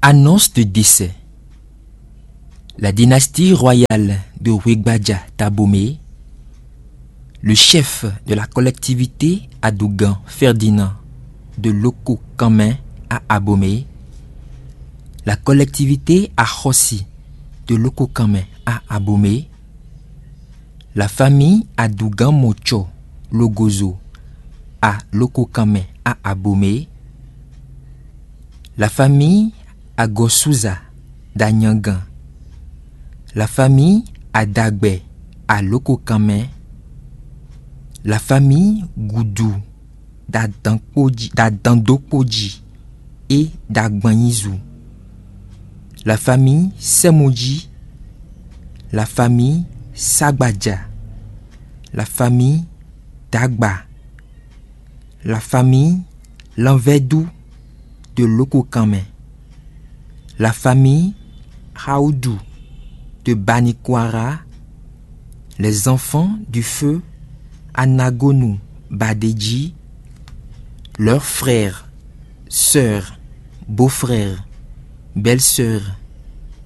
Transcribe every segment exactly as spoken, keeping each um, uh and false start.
Annonce de décès. La dynastie royale de Wegbaja Tabomé, le chef de la collectivité Adougan Ferdinand de Loko Kanmɛ à Abomey, la collectivité Axɔsi de Loko Kanmɛ à Abomey, la famille Adougan Mocho Logozo à Loko Kanmɛ à Abomey, la famille Agosuza d'Anyangan, la famille Adagbe à Loko Kanmɛ, la famille Goudou d'Adan Kpodji, d'Adan Dokpodji et d'Agbanyizu, la famille Semoji, la famille Sagbadja, la famille Dagba, la famille Lanvɛdu de Loko Kanmɛ, la famille Haoudou de Banikwara, les enfants du feu Anagonu Badedji, leurs frères, sœurs, beaux-frères, belles-sœurs,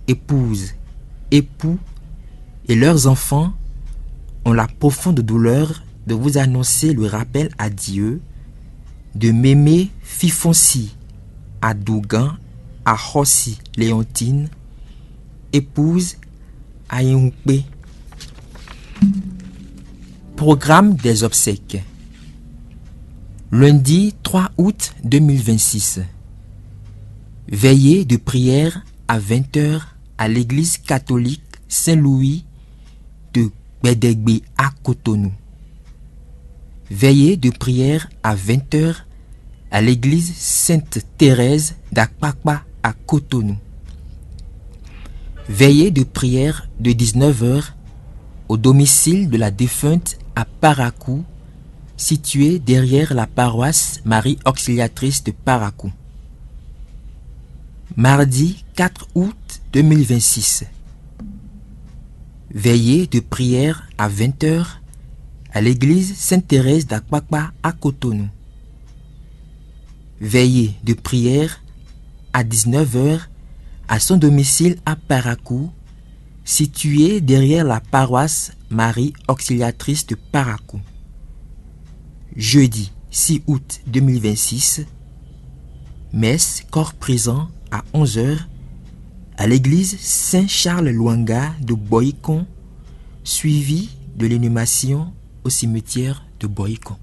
épouses, époux et leurs enfants ont la profonde douleur de vous annoncer le rappel à Dieu de Mémé Fifonsi Adougan Ahosi Léontine, épouse Ayinwukpe. Programme des obsèques. Lundi trois août deux mille vingt-six. Veillée de prière à vingt heures à l'église catholique Saint-Louis de Gbedegbe à Cotonou. Veillée de prière à vingt heures à l'église Sainte-Thérèse d'Akpakpa à Cotonou. Veillée de prière de dix-neuf heures au domicile de la défunte à Parakou, situé derrière la paroisse Marie Auxiliatrice de Parakou. Mardi quatre août deux mille vingt-six. Veillée de prière à vingt heures à l'église Sainte-Thérèse d'Akpakpa à Cotonou. Veillée de prière à dix-neuf heures à son domicile à Parakou, situé derrière la paroisse Marie Auxiliatrice de Parakou. Jeudi six août deux mille vingt-six, messe corps présent à onze heures à l'église Saint-Charles Luanga de Boycon, suivie de l'inhumation au cimetière de Boycon.